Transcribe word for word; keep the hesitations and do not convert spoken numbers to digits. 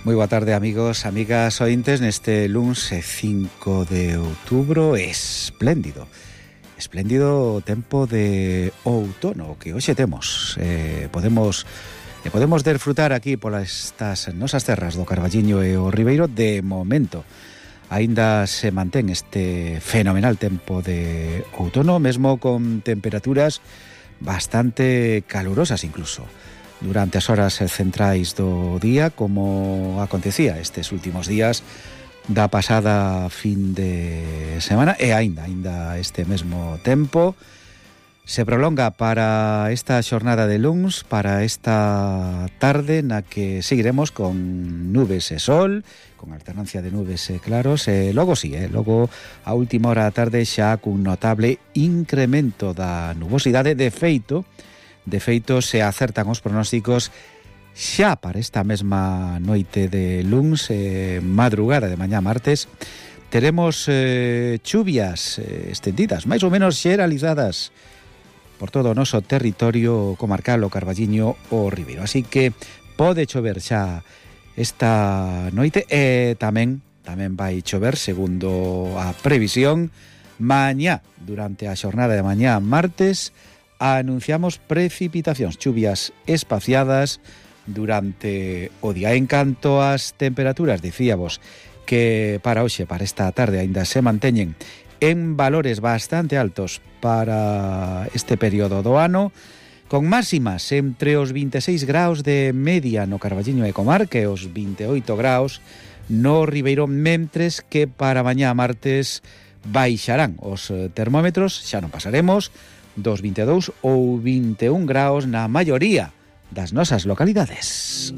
Moi boa tarde, amigos, amigas ointes. Neste luns cinco de outubro, espléndido espléndido tempo de outono que hoxe temos. eh, podemos e podemos desfrutar aquí polas estas nosas terras do Carballiño e o Ribeiro. De momento aínda se mantén este fenomenal tempo de outono, mesmo con temperaturas bastante calurosas incluso durante as horas centrais do día, como acontecía estes últimos días da pasada fin de semana, e aínda, aínda este mesmo tempo se prolonga para esta xornada de luns, para esta tarde na que seguiremos con nubes e sol, con alternancia de nubes e claros, e logo sí, eh, logo a última hora da tarde xa cun notable incremento da nubosidade. De feito, De feito, se acertan os pronósticos xa para esta mesma noite de luns, eh, madrugada de mañá martes, teremos eh, chuvias eh, estendidas, máis ou menos xeralizadas por todo o noso territorio comarcal, o Carballiño, o Ribeiro. Así que pode chover xa esta noite e tamén tamén vai chover, segundo a previsión, mañá, durante a xornada de mañá martes. Anunciamos precipitacións, chuvias espaciadas durante o día. En canto ás temperaturas, dicíamos que para hoxe, para esta tarde, aínda se manteñen en valores bastante altos para este período do ano, con máximas entre os vinte e seis graus de media no Carballiño e comarca e os vinte e oito graus no Ribeiro, mentres que para mañá martes baixarán os termómetros, xa non pasaremos dos vinte e dous ou vinte e un graus na maioría das nosas localidades.